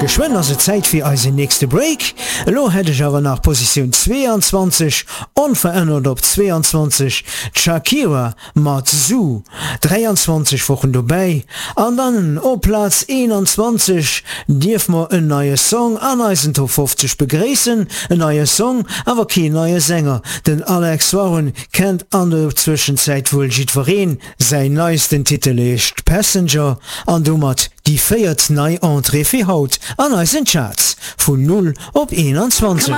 Geschwënn ass et Zäit fir eisen nächste Break. Elo hätt ech awer nach Positioun 22, onverännert op 22, d'Shakira mat Zoo, 23 Wochen dobäi. An dann op Plaz 21 dierf mer en neie Song an eisen Top 50 begréissen. En neie Song, awer keen neie Sänger. Den Alex Warren kennt an der Zwëschenzäit wuel jiddwereen. Säin neisten Titel heescht Passenger an domat déi véiert nei Entrée fir haut an eisen Charts, vun 0 op 21.